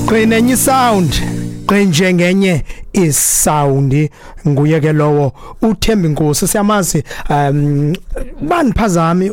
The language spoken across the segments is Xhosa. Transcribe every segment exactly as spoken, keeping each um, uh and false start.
Qinenye sound qinje ngenye isound, nguye ke lowo uThemba Inkosi. Siyamazi um baniphazami,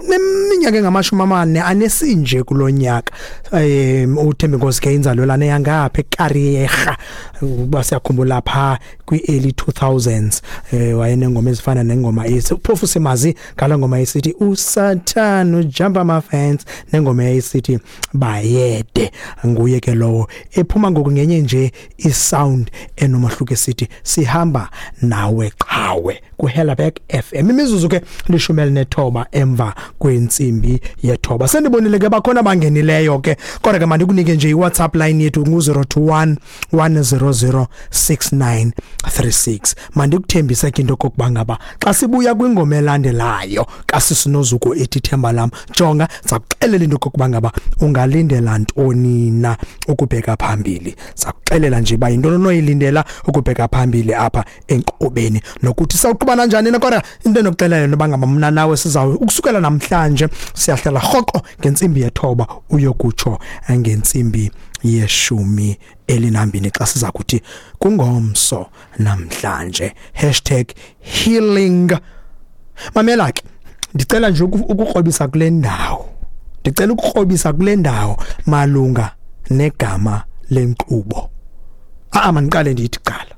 neminyaka engamashumi amane anesinje kulonyaka. um uThemba Inkosi ke inzalelwane yangapha eKariega, uba siyakhumbula pha kwi early two thousands, eh wayenengoma ezifana nengoma ethi, phofu simazi ngala ngoma esithi uSatan ujump ama fence, nengoma esithi bayede. Nguye ke lowo ephuma ngoku ngenye nje isound enomahluko esithi sihamba nawe qhawe ku Helderberg F M. Imizuzu ke lishumi elinethoba emva kwentsimbi yethoba. Sendibonile ke bakhona abangenileyo ke, kodwa ke mandikunike nje iWhatsApp line yethu ngu zero two one, one zero zero, six nine three six. Mandikuthembise ke into okokuba ngaba xa sibuya kwingoma elandelayo kaSisinozuko ethi Themba Lam, jonga sakuxelela into okokuba ngaba ungalindela ntoni na ukubheka phambili. Sakuxelela nje ba yintoni onoyilindela ukubheka phambili apha enkqubeni, nokuthi sawuqhuba kanjani na. Kodwa into enokuxelela yona uba ngaba mna nawe sizawu ukusukela namhlanje siyahlala rhoqo ngentsimbi yethoba uyokutsho ngentsimbi yeshumi elinambini xa siza kuthi kungomso namhlanje. Hashtag healing. Mamela ke, ndicela nje uku-, ukukrobisa kule ndawo, ndicela ukukrobisa kule ndawo malunga negama lenkqubo. Ah, mandiqale ndiyithi qala.